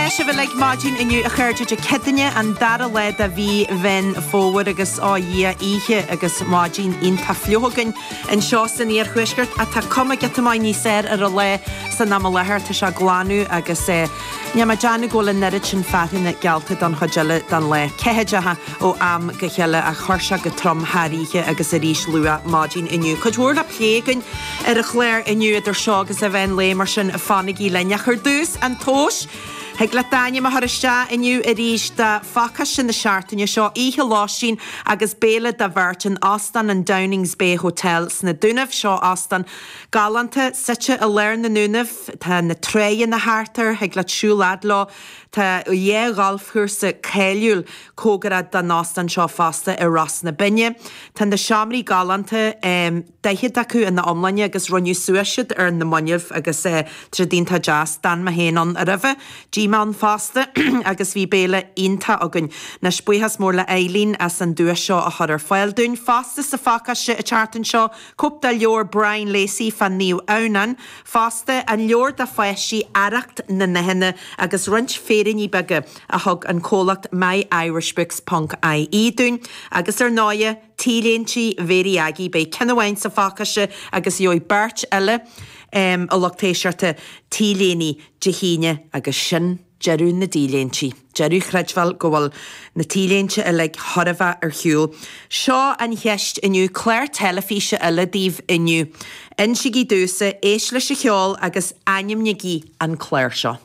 Tá sibh uilig maidin inniu a chairde Dé Céadaoine, an dara lá de mhí Mheán Fómhair agus ó Dhia oíche agus maidin iontach fliuch againn anseo san iarthuaisceart ach tá cuma giota maith níos fhearr ar an lá san am i láthair. Tá sé ag glanadh agus níl mé ag déanamh go bhfuil an oiread sin fearthainne geallta don chuid eile den lá. Ceathaideacha ó am go chéile ach chuir sé go trom thar oíche agus arís luath maidin inniu. Cuid mhór le plé againn ar an chlár inniu idir seo agus an mheán lae mar sin fanaigí linn. Ach ar dtús, an tomhas. Thig leat d'ainm a chur isteach inniu arís do phacáiste na seachtaine seo, oíche lóistín agus béile do bheirt in Óstán an Downings Bay Hotel sna Dúnaibh. Seo óstán galánta suite i lár na nDúnaibh. Tá na tráigheanna thart air, thig leat siúl fhad leo. Tá dhá ghalfchúrsa cáiliúil cóngarach don óstán seo fosta i Ros na Binne. Tá na seomraí galánta. 40 acu ina iomláine agus rinneadh suas siad ar na mallaibh agus tá siad iontach deas. D'fhan mé féin ann roimhe, d'ith mé ann fosta agus bhí béile iontach againn. Anois, buíochas mór le Eileen as an duais seo a chur ar fáil dúinn. Fosta sa phacáiste an tseachtain seo, cóip de leabhar Brian Lacey fá Naomh Adhamhnán. Fosta, an leabhar do pháistí Arracht na nDathanna agus roinnt féiríní beaga a thug an comhlacht MyIrishBooks ponc ie dúinn. Agus ar ndóighe, T-léintí Mhéirí Aggie, beidh ceann amháin sa phacáiste agus gheobhaidh beirt eile, a lucht éisteachta, T-léiní Dé hAoine agus sin deireadh na dT-léintí. Deireadh chreidbheáil go bhfuil na T-léinte uilig chóir a bheith ar shiúl. Seo an cheist inniu, clár teilifíse eile daoibh inniu. Insígí domhsa, éist leis an cheol agus ainmnígí an clár seo.